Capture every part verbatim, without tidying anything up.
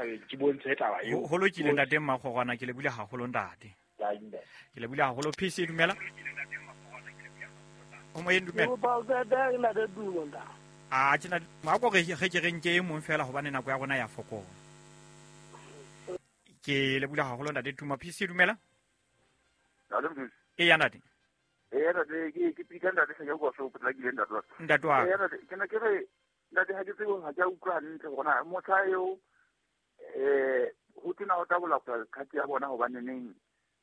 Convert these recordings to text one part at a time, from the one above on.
setjhabeng ke bontshe taba eo. Ho lokile ntate Mmakgorwana, ke lebule haholo ntate. Ke lebule haholo. P C dumela. O moyeng dumela. A tjena ma ko re re ke re nke e mong fela hobane nako ya rona ya fokola. Ke lebule haholo ntate Tuma. P C dumela. E ya ntate. E ntate ke ke pika ntate se ke go so potlakile ntate wa. Ntate wa. E ntate ke ne ke re ntate ha ke tsebe ha ke a utlwa hantle hore na motjha eo eh ho tena ho tabola kgati ya bona hobane neng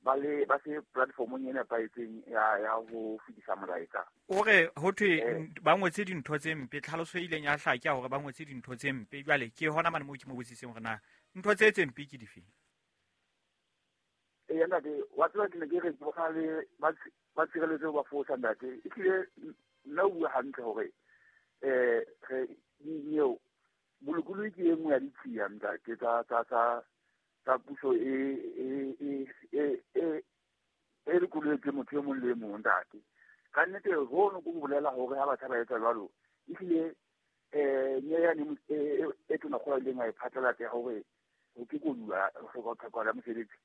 ba le ba se platformong e nepahetseng ya ya ho fetisa molaetsa. O re ho thwe ba ngotse dintho tse mpe, tlhaloso e ileng ya hlaka hore ba ngotse dintho tse mpe. Jwale ke hona mane moo ke mo botsiseng hore na ntho tse tse mpe ke dife. E ntate wa tseba ke ne ke re ke bona le ba ba tshireletso ba fosa ntate. E tlile nna o bua hantle hore eh re eo bolokolohi ke e nngwe ya ditshiya ntate tsa tsa tsa tsa puso e e e e e e lokoletswe motho e mong le e mong ntate. Ka nnete hono ko bolela hore ha batjha ba etsa jwalo ehlile eh nyeyane e tona kgolo a ileng a e phatlalatsa ya hore ho ke koduwa ho hloka ho tlhokahala mosebetsi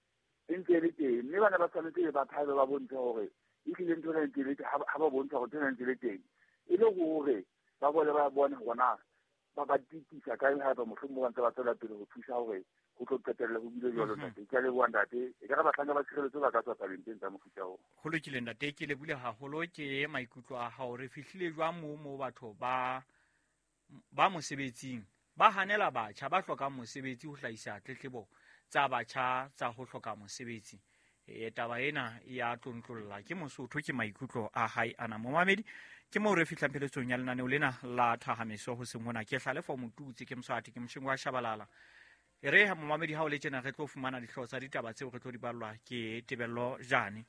e ntse e le teng, mme bana ba tshwanetse ba thabe ba bontshe hore ehlile ntho ena e ntse e le teng, ha ba bontsha hore ntho ena e ntse e le teng e le hore ba bone ba bone hore na ba ba titisa kae haeba mohlomong ba ntse ba tswela pele ho thusa hore ho tlo qetella ho bile jwalo ntate. Ke a leboha ntate, e ka re bahlanka ba tshireletso ba ka tswa tabeng teng tsa mofuta oo. Ho lokile ntate, ke lebule haholo ke maikutlo a hao. Re fihlile jwang moo moo batho ba ba mosebetsing ba hanela batjha ba hlokang mosebetsi ho hlahisa tletlebo tsa batjha tsa ho hloka mosebetsi. E taba ena ya tlontlolla ke Mosotho, ke maikutlo a hae ana. Momamedi, ke moo re fihlang pheletsong ya lenaneo lena la Thahameso hoseng hona. Ke Hlalefo Motutsi, ke Moswati, ke Moshengo wa Shabalala. E re ha momamedi ha o le tjena re tlo fumana dihlooho tsa ditaba tseo re tlo di ballwa ke Tebello Jane.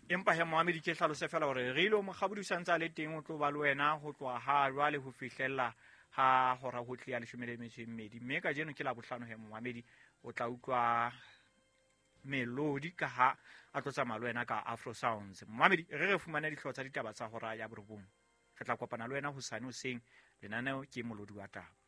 Empa he momamedi ke hlalose fela hore re ile Mokgabudi o santse a le teng, o tlo ba le wena ho tloha ha jwale ho fihlella ha hora ho tlia leshome le metso e mmedi. Mme kajeno ke Labohlano he momamedi, o tla utlwa melodi ka ha a tlo tsamaya le wena ka Afro Sounds. Momamedi, re re fumane dihlooho tsa ditaba tsa hora ya borobong. Re tla kopana le wena hosane hoseng. Lenaneo ke Molodi wa Taba.